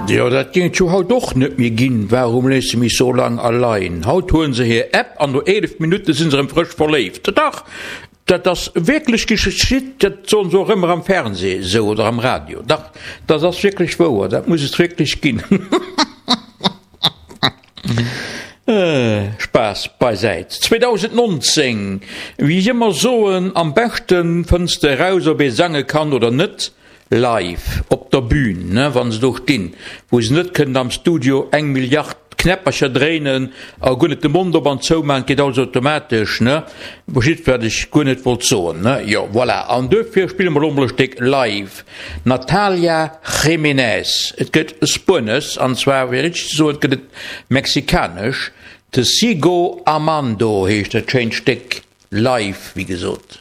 Jo, dat géing et jo haut och net méi ginn, Warum lässt du mich so lang allein? Haut huelen se hir App an no 11 Minutte sinn se erëm frësch verléift. Dach, dat ass wierklech geschitt, dat soen se och ëmmer am Fernseh esou oder am Radio. Dach, dat ass wierklech wouer, dat muss et wierklech ginn. Spaass beisäit. 2019, wéi ech ëmmer soen, am beschte fënns de eraus ob ee sange kann oder net, live op der Bühn, ne, wa se do stinn, wou se net kënnen am Studio eng Milliard Knäppercher dréinen a guer net de Mond op an zou maachen, et geet alles automatesch, ne, verstitt wat ech guer net wollt soen, ne, jo, voilà. An duerfir spille mer elo mol e Stéck live, Natalia Jiménez, et gëtt Spuenesch, an zwar, fir richteg ze soen, gëtt et Mexikanesch, Te sigo amando heescht dat schéint Stéck, live, wéi gesot.